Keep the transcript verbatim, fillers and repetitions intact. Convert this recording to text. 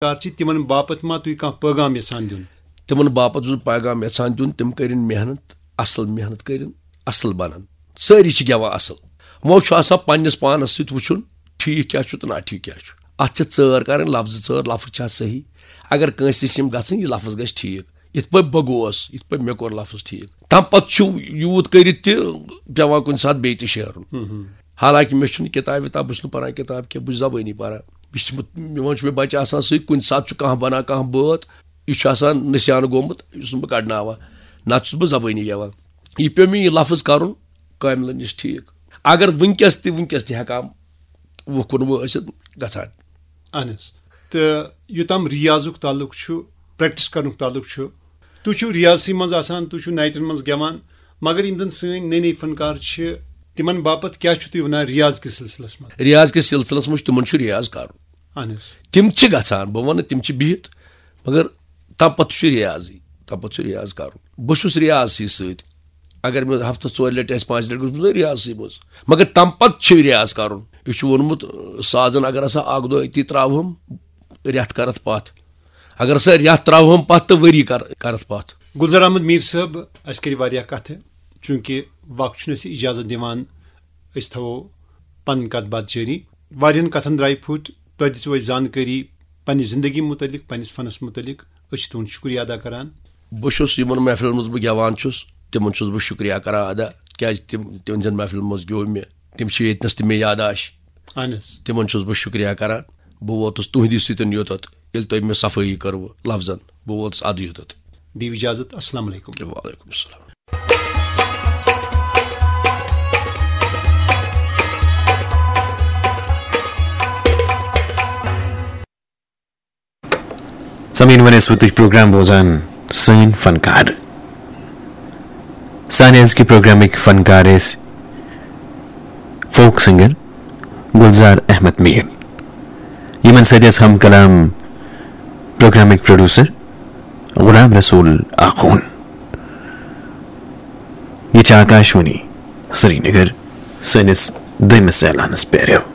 فنکار چھِ، تِمن باپتھ ما تُہۍ کانٛہہ پٲغام یژھان دیُن؟ تِمن باپتھ چھُس بہٕ پیغام یژھان دیُن، تِم کٔرِن محنت، اصل محنت کٔرِن، اصل بنن۔ سٲری چھِ گٮ۪وان اصل۔ وۄنۍ چھُ آسان پننِس پانس سۭتۍ وٕچھُن، ٹھیٖک کیٛاہ چھُ تہٕ ناٹھیٖک کیٛاہ چھُ۔ اتھ چھِ ژٲر کرٕنۍ، لفظ ژٲر، لفظ چھا صحیح؟ اگر کٲنٛسہِ نِش یِم گژھن، یہِ لفظ گژھِ ٹھیٖک۔ یِتھ پٲٹھۍ بہٕ گوس، یِتھ پٲٹھۍ مےٚ کوٚر لفظ ٹھیٖک، تمہِ پتہٕ چھُ یوٗت کٔرِتھ تہِ پٮ۪وان کُنہِ ساتہٕ بیٚیہِ تہِ شیرُن۔ حالانکہِ مےٚ چھُنہٕ کِتابہِ وِتاب، بہٕ چھُس نہٕ پران کِتاب کینٛہہ، بہٕ چھُس زبٲنی پران۔ مےٚ چھِ، مےٚ وۄنۍ چھُ مےٚ بچہِ آسان سۭتۍ، کُنہِ ساتہٕ چھُ کانٛہہ بنان کانٛہہ بٲتھ، یہِ چھُ آسان نسیان گوٚمُت، یہِ چھُس نہٕ بہٕ کڑناوان، نتہٕ چھُس بہٕ زبٲنی گٮ۪وان۔ یہِ پیوٚو مےٚ یہِ لفظ کرُن کاملن نِش ٹھیٖک۔ اگر وٕنکیٚس تہِ، وٕنکیٚس تہِ ہٮ۪کان وُہ کُنوُہ ٲسِتھ گژھان۔ اہن حظ۔ تہٕ یوٚتام ریاضُک تعلق چھُ، پریکٹس کرنُک تعلق چھُ، تُہۍ چھِو ریاضسٕے منٛز آسان، تُہۍ چھِو نایٹن منٛز گٮ۪وان، مگر یِم زن سٲنۍ نٔے نٔے فنکار چھِ، تِمن باپتھ کیٛاہ چھِو تُہۍ ونان ریاض کِس سلسلس منٛز؟ ریاض کِس سلسلس منٛز چھُ، تِمن چھُ ریاض کرُن۔ اہن حظ۔ تِم چھِ گژھان، بہٕ وَنہٕ تِم چھِ بِہِتھ، مگر تَمہِ پَتہٕ چھُ ریاضٕے، تَمہِ پَتہٕ چھُ ریاض کَرُن۔ بہٕ چھُس ریاضسٕے سۭتۍ۔ اگر مےٚ ہفتس ژورِ لٹہِ آسہِ، پانٛژِ لٹہِ گوٚژھ بہٕ ریاضسٕے منٛز۔ مگر تَمہِ پَتہٕ چھُ ریاض کَرُن۔ یہِ چھُ ووٚنمُت، سازن اگر ہسا اکھ دۄہ أتی ترٛاوہَم، رٮ۪تھ کَرَتھ پَتھ۔ اگر ہسا رٮ۪تھ ترٛاوہَم پَتھ تہٕ ؤری کَر-، کَرَتھ پَتھ۔ گُلزار احمد میٖر صٲب، اَسہِ کَرِ واریاہ کَتھٕ، چوٗنٛکہِ وقت چھُنہٕ اَسہِ اِجازت دِوان، أسۍ تھاوو پَنٕنۍ کَتھ باتھ جٲری۔ واریاہَن کَتھَن درٛایہِ پھُٹ، تۄہہِ دِژوٕ اَسہِ زانکٲری پننہِ زندگی متعلق، پننِس فنس متعلق۔ أسۍ چھِ تُہُنٛد شُکریہ ادا کران۔ بہٕ چھُس یِمن محفلن منٛز بہٕ گٮ۪وان چھُس، تِمن چھُس بہٕ شُکریہ کران ادا، کیازِ تِم، تِہنٛدٮ۪ن محفلن منٛز گیوٚو مےٚ۔ تِم چھِ ییٚتنس تہِ مےٚ یاداش۔ اہن حظ۔ تِمن چھُس بہٕ شُکریہ کران۔ بہٕ ووتُس تُہنٛدِ سۭتۍ یوٚتتھ، ییٚلہِ تۄہہِ مےٚ صفٲیی کٔروٕ لفظن، بہٕ ووتُس ادٕ یوٚتتھ۔ دِیِو اجازت۔ السلام علیکم۔ وعلیکم السلام۔ سامعین، وۄنۍ ٲسوٕ تُہۍ پروگرام بوزان سٲنۍ فنکار۔ سانہِ أزکہِ پروگرامٕکۍ فنکار ٲسۍ فوک سنگر گلزار احمد میر۔ یِمن سۭتۍ ٲسۍ ہم کلام پروگرامٕکۍ پروڈیوسر غلام رسول آخون۔ یہِ چھِ آکاشوانی سرینگر۔ سٲنِس دوٚیمِس اعلانس پیرو۔